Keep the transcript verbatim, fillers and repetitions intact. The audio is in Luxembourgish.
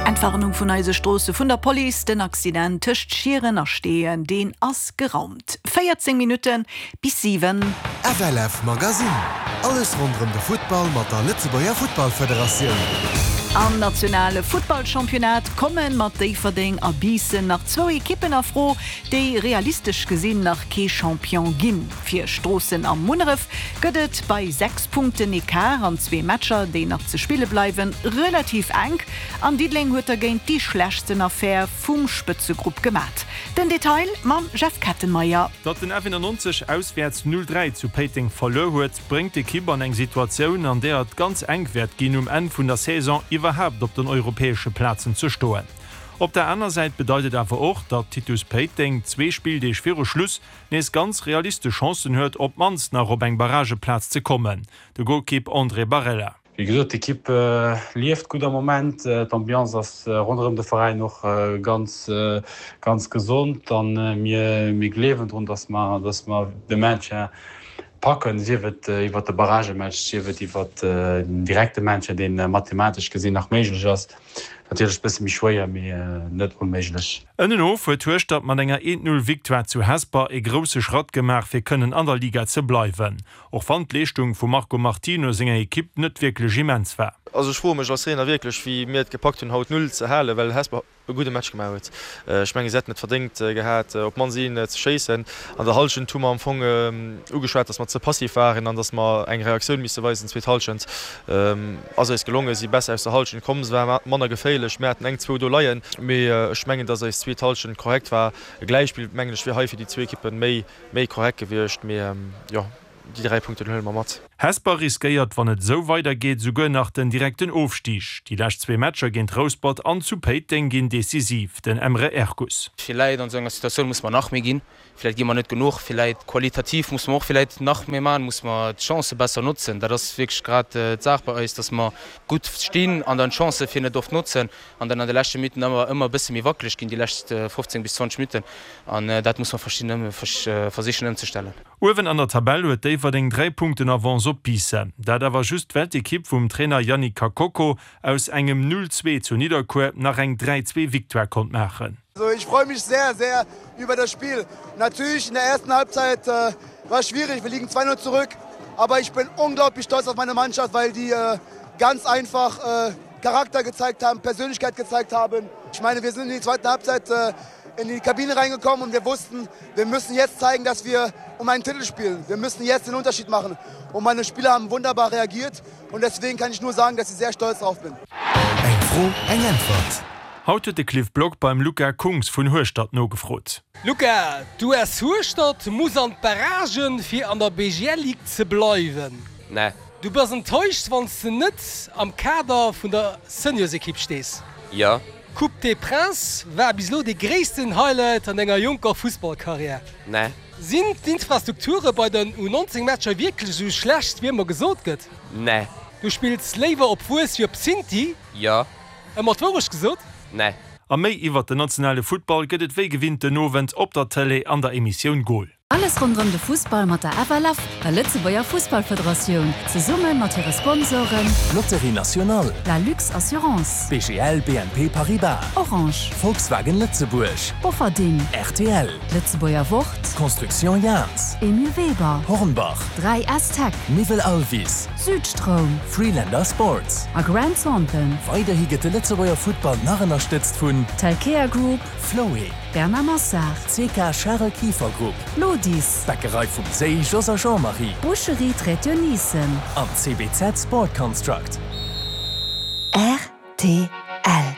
Entwarnung vun eise Stroosse vun der Police, den Accident tëscht Schieren a Steeën, deen ass geraumt. véierzéng Minutte bis siwen. F L F Magazine. Alles ronderëm de Futtball mat der Lëtzebuerger Futtballfederatioun. Am nationale Futtballchampionnat komme mat Déifferdeng a Biissen nach zwou Ekippen a Fro, déi realistesch gesinn nach kee Champion ginn. Fir Stroossen a Munneref gëtt et bei sechs Punkten Ecart an zwee Matcher, déi nach ze spille bleiwen, relativ enk. An Diddeleng huet dergéint déi schlechtsten Affär vum Spëtzegrupp gemat. Den Detail mam Jeff Kettenmeyer. Datt den F eenannonzeg auswäerts null dräi zu Péiteng verluer huet, bréngt d'Ekipp an eng Situatioun, an där et ganz enk wäert ginn, um Enn vun der Saison iwwerhaapt op den europäesche Plazen ze stoen. Op der aner Säit bedeit et awer och, datt Titus Péiteng zwee Spilldeeg viru Schluss nees ganz realistesch Chancen huet, op d'mannst nach op eng Barrageplaz ze kommen. De Golkipp André Barella. Wéi gesot, d'Ekipp lieft gutt am Moment. D'Ambiance ass ronderëm de Veräin och ganz ganz gesond an mir mir gleewen drun, dass mer dass mer de Maintien packen, sief et iwwer de Barragematch, sief et iwwer den direkte Maintien, deen mathematesch gesinn nach méiglech ass. Natierlech bësse méi schwéier, mee net onméiglech. Ënnen of huet Hueschtert mat enger een null Victoire zu Hesper e grousse Schratt gemaach, fir kënnen an der Liga ze bleiwen. Och wann d'Leeschtung vum Marco Martino senger Ekipp net wierklech immens war. Also ech froe mech als Trainer wierklech, wéi mir et gepackt hunn, haut null ze halen, well Hesper e gudde Match gemaach huet. Ech mengen, si hätten et verdéngt gehat, op d'mannst een ze schéissen. An der Hallschent hu mer am Fong ugeschwat, datt mer ze passiv waren an datt mer eng Reaktioun misse weisen. Zweet Hallschent ass eis gelongen, si besser aus der Hallschent komm, se war manner geféierlech, mir haten eng, zwou do leien, mee ech mengen, datt eis zweet Hallschent korrekt war. E Gläichspill, mengen ech, wier hei fir déi zwee Ekippe méi méi korrekt gewiescht, mee jo, déi dräi Punkten huele mer mat. Hesper riskéiert, wann et esou weidergeet, souguer nach den direkten Ofstig. Déi lescht zwee Matcher géint Rouspert an zu Péiteng ginn decisiv. Den Emre Erkus. Villäit an esou enger Situatioun muss mer nach méi ginn. Villäit gi mer net genuch. Villäit qualitativ muss mer och villäit nach méi maachen, muss mer d'Chancë besser notzen. Dat ass wierklech grad d'Saach bei eis, dass mer gutt stinn an dann d'Chancë fir net oft notzen an dann an de leschte Minutten ëmmer ëmmer e bësse méi wackeleg ginn, déi lescht fofzéng bis zwanzeg Minutten. An dat muss mer verschidden versichen ëmzestellen. Uewen an der Tabell huet Déifferdeng dräi Punkten Avance op Biissen. Dat awer just, well d'Ekipp vum Trainer Yannick Kakoko aus engem null zwee zu Nidderkuer nach eng dräi zwee Victoire konnt maachen. Also ich freue mich sehr, sehr über das Spiel. Natürlich in der ersten Halbzeit äh, war es schwierig, wir liegen zwei null zurück. Aber ich bin unglaublich stolz auf meine Mannschaft, weil die äh, ganz einfach äh, Charakter gezeigt haben, Persönlichkeit gezeigt haben. Ich meine, wir sind in die zweite Halbzeit äh, in die Kabine reingekommen und wir wussten, wir müssen jetzt zeigen, dass wir um einen Titel spielen. Wir müssen jetzt den Unterschied machen. Und meine Spieler haben wunderbar reagiert und deswegen kann ich nur sagen, dass ich sehr stolz darauf bin. Eng Fro, eng Äntwert. Haut huet de Cliff Block beim Luca Kungs vun Hueschtert nogefrot. Luca, d'U S Hueschtert muss an d'Barragen, fir an der B G L Ligue ze bleiwen. Nee. Du bass enttäuscht, wann s de net am Kader vun der Seniorsekipp stees. Jo. Coupe des Princes war bis elo de gréissten Highlight an denger jonker Fussballkarriär. Nee. Sinn d'Infrastrukture bei den U neunzéng Matcher wierklech esou schlecht, wéi ëmmer gesot gëtt? Nee. Du spills léiwer op Wues wéi op Synthi? Jo. Ëmmer d'Wourecht gesot? Nee. A méi iwwer den nationale Futtball gëtt et wéi gewinnt den Owend op der Tëlee an der Emissioun Goal. Alles ronderëm de Fussball mat der F L F, der Lëtzebuerger Fussballfederatioun, zesumme mat hire Sponsoren: Loterie Nationale, La Lux Assurance, B G L B N P Paribas, Orange, Volkswagen Lëtzebuerg, Bofferding, R T L, Lëtzebuerger Wort, Construction Jans, Emile Weber, Hornbach, dräi S Tech, Niwel Alvis, Südstroum Freelander Sports a Grant Thornton. Weiderhi gëtt de Lëtzebuerger Futtball nach ënnerstëtzt vun Telkea Group, Floé, Bernard Massard, C K Charel Kieffer Group, Lodis, Bäckerei vum Séi Jos a Jean-Marie Boucherie Trétionnissen an C B Z Sport Construct. R T L.